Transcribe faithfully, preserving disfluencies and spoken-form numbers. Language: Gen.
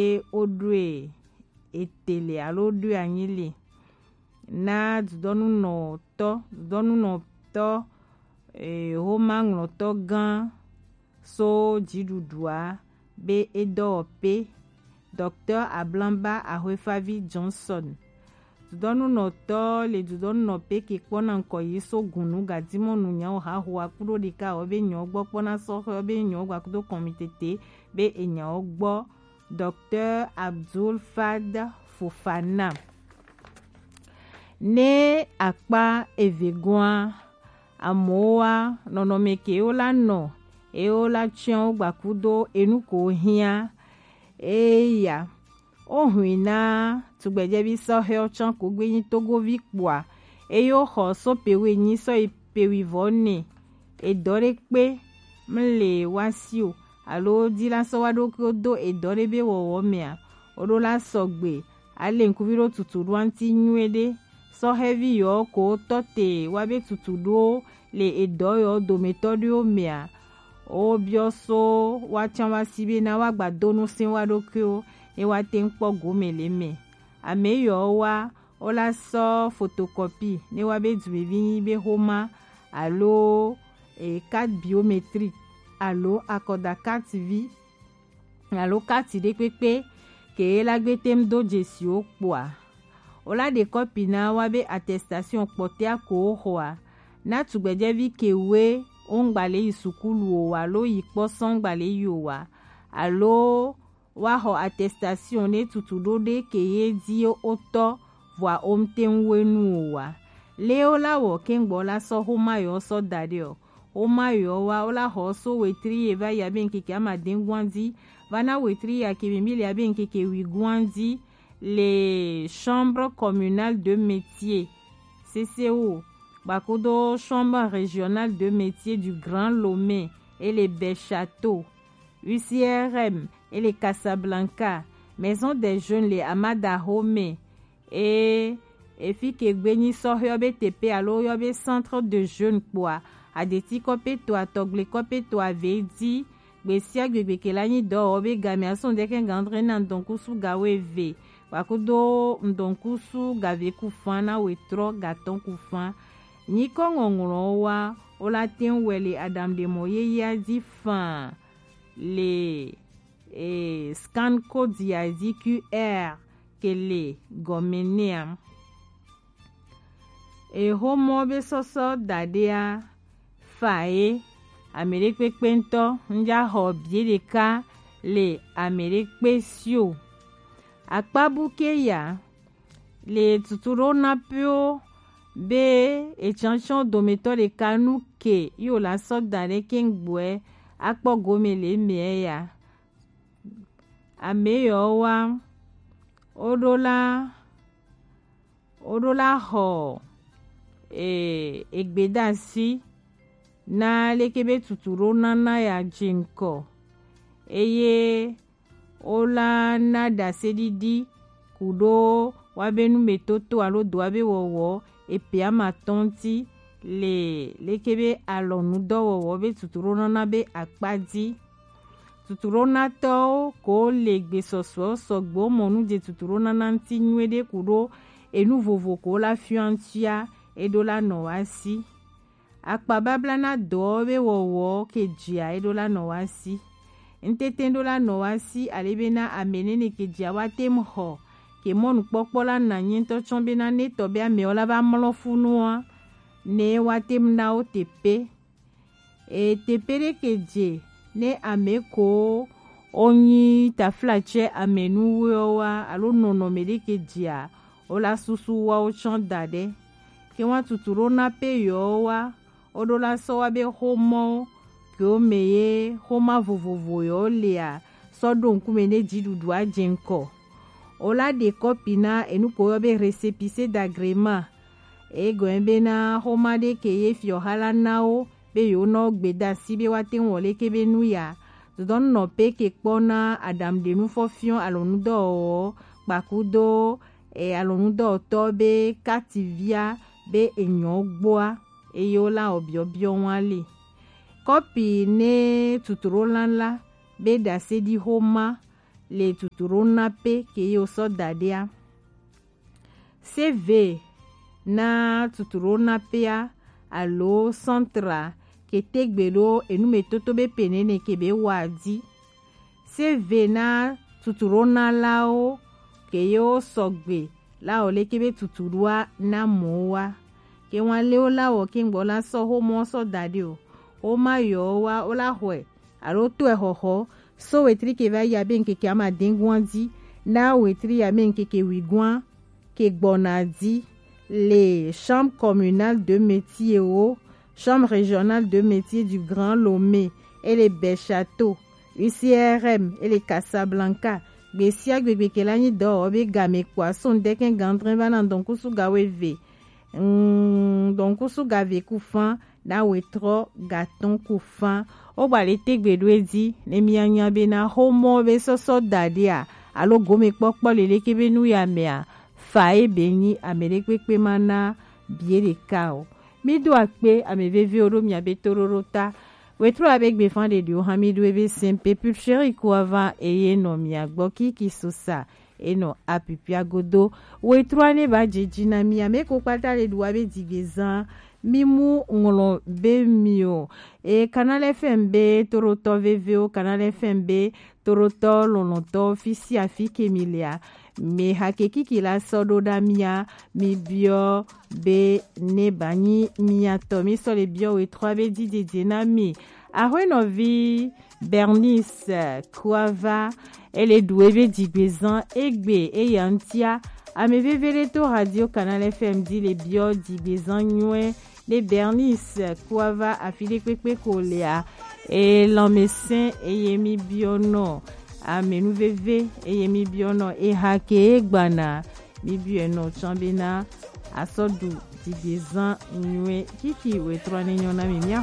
e o ɖoe ete le alo ɖoe anyi le na dudɔnunɔtɔ, dudɔnunɔtɔ, e, homaŋlɔtɔ gã so dziɖuɖua be e dɔwɔƒe, Docteur Ablamba Ahoefavi Johnson. Dudɔnunɔtɔ le dudɔnunɔƒe ke kpɔna ŋkɔ yi so gunu gadimɔnu nyawo hahoa kuɖo ɖeka wo be nyawo gbɔ kpɔna sɔhɛ wo be nyawo gba kudo kɔmitete be enyawo gbɔ, Docteur Abdul Fad Fofana. Ne akpa eve goa, amowa nɔnɔme ke wo la nɔ, e wo la tiɛn wo gba kudo enu ko hiã, eya o hui na tugbedzɛvi sɔhɛ wo tsã ko gbe nyi togovi kpoa, eye wo xɔ so pe wi nyi sɔ yi pe wi vɔ ne. Edɔ ɖe kpe mle wa si o, alo di la sɔ wa ɖokuiwo do edɔ ɖe be wɔwɔ mea, o ɖo la sɔgbe, ale ŋkuvi ɖo tutu ɖo anti nyuie ɖe. Sɔhɛvi yɔ ko tɔ te wa be tutu ɖo le edɔ yɔ dometɔ ɖewo mea, o biɔ so wa tsã wa si be na wa gba do nu se wa ɖokuiwo, ne wa te ŋkpɔ gome le me. Ame yɔ wa o la sɔ photocopie ne wa be dumevi nyi be homa alo e, carte biométrique alo akɔda carte vi alo carte ɖekpekpe ke la gbe tem do dzesi wo kpoa, o la ɖe kɔpi na wa be attestation kpɔtɛa ko wo xɔa. Na tugbedzɛvi ke we o ŋgba le yi sukulu o wa alo yi kpɔ sɔn ŋgba le yi o wa alo wa xɔ attestation ne tutu ɖo ɖe ke ye di o tɔ vɔa o ŋte ŋu we nu o wa. Le o la wɔ ke ŋgbɔ la sɔ homa yɔ sɔ da ɖe o. Homa yɔ wa o la xɔ so wetri ye va ya be ŋkeke amadɛn guan di va na wetri ya ke mi mi le ya be ŋkeke wi guan di le chambre communale de métier, C C O, gba kudo chambre régionale de métier du Grand Lomé et le Bel Château, U C R M et le Casablanca, Maison des Jeunes le Amada Home, e efi ke gbe nyi sɔhɛ yɔ be tepe alo yɔ be centre de jeune kpoa, adeti kɔpe to atɔgble kɔpe to ave di, gbe sia gbe gbe ke la nyi dɔ wɔ be game asɔn deke gandre na ŋdɔnkusu ga wo eve, gba kudo ŋdɔnkusu ga ve ku fan na wetrɔ ga tɔn ku fan. Nyikɔ ŋɔŋlɔ wa o la te ŋu wɛ le aɖaŋuɖemɔ yeyea di fan le e, scan code ya di Q R ke le gɔme nɛa. Ehomɔ be sɔsɔ daɖea fa ye, ame ɖekpekpe ŋutɔ ŋdza xɔ bie ɖeka le ame ɖekpe si o. Akpabu ke ya le tutu ɖo na pewo be etsɔtsɔ dometɔ ɖeka nu ke yi wòle asɔ da ɖe keŋgbɔɛ akpɔ gome le emea ya. Ame yawo wa, woɖo la, woɖo la xɔ e, egbedasi na leke be tutu ɖo nana ya dze ŋkɔ eye wola na ɖaseɖiɖi ku ɖo woabe numetoto alo dɔ woabe wɔwɔ epe amatɔ̃ ŋuti le leke be alɔnudɔwɔwɔ be tutuɖonana be akpa dzi. Tutuɖonatɔwo ko le gbesɔsɔ sɔgbe mɔ nu dze tutuɖonana ŋuti nyuie ɖe ku ɖo enu vovo ko la fiɔ ŋutia eɖo la nɔ wa si. Akpababla na dɔ be wɔwɔ ke dzia eɖo la nɔ wa si. Ŋtete ɖo la nɔ wa si ale be na ame nene ke dzia wa tem xɔ ke mɔnukpɔkpɔ la na nyi ŋutɔ tsɔ be na ne tɔ be amewo la va mlɔ funua ne wa tem na wo tepe. E tepe ɖe ke dze ne ame ko wonyi taflatsɛ amenuwoewo wa alo nɔnɔme ɖe ke dzia, wola susu woawo tsɔ da ɖe. Ke woa tutu ɖo na pe yewo wa, woɖo la sɔ wa be xomɔwo kewo me ye xoma vovovo yewo lea, sɔ ɖo ŋkume ne dziɖuɖua dze ŋkɔ. Wola ɖe kɔpi na enu ko woyɔ be récépissé d'agrément. Egɔme be na xoma ɖe ke ye fiɔha la na wo be yewo nɔ gbedasi be woate ŋu wɔ leke be nu ya. Dodɔnunɔƒe ke kpɔna aɖaŋuɖenu fɔfiɔ alɔnudɔwɔwɔ kpakudo e, alɔnudɔwɔtɔ be kativia be enyɔ gbɔa eye wola wɔ biɔbiɔ wa li. Kɔpi ne tutuɖola la be ɖaseɖi xoma le tutu ɖo na pe ke ye wo sɔ da ɖe a. C V na tutu ɖo na pe a alo centre a ke te gbe ɖo enumetoto be pe nene ke be wa di. C V na tutu ɖo na lawo ke ye wo sɔgbe lawo leke be tutu ɖoa na mɔ wa. Ke wan le wo lawo ke ŋgbɔ la sɔ xomɔ sɔ da ɖe o. Xoma yɔ wa wo la xɔe alo to exɔxɔ so wetri ke va yi abe ŋkeke ama de gɔn di na wetri abe ŋkeke wi gɔn ke gbɔna di le Chambre communale de métier o, Chambre régionale de métier du Grand Lomé, e le Bèchâteau, U C R M, e le Casablanca. Gbe sia gbe gbe ke la nyi dɔwɔwɔ be game kpo aso ŋdɛkɛ gandrɛ va na dɔnkusu ga weve. Mm, dɔnkusu ga ve ku fan na wetrɔ ga tɔn ku fan. O gba le tegbe ɖo e di ne mia nya be na xomɔ be sɔsɔ da ɖe a alo gome kpɔkpɔ le leke be nu ya mɛ a, fa e be nyi ame ɖe kpekpe ma na bie ɖeka o. Mi do akpe ame vevewo ɖo mia be toɖoɖo ta. Wetrɔ abe gbe fan ɖeɖiwo hã mi ɖo ebe sɛnpe pulcheri ko ava eye nɔ mia gbɔ kiki sosa enɔ apipia godo. Wetrɔ ne ba jeji na mi ame ko kpata le ɖu abe digbe zan mi mu ŋlɔ be mi o. E Canal F M be toɖotɔ vevewo, Canal F M be toɖotɔ lɔlɔtɔ fi sia fi ke mi lea. Mi hake kiki la sɔ ɖo ɖa mia, mi biɔ be ne ba nyi mia tɔ mi sɔ le biɔ wetrɔ be dididi na mi. Axwenɔvi Bernice Kuava, ele ɖu ebe digbezan egbe eya ŋutia. Ame veve ɖe to Radio Canal F M di le biɔ digbezan nyuie ne Bernice Kuava afi ɖe kpekpe ko lea. E lanmesẽ eye mi biɔ nɔ ame nu veve eye mi biɔ nɔ eha ke e gbana. Mi biɔ nɔ tsã bena asɔ ɖu digbezan nyuie kiki wetrɔ ne nyɔ na mi mia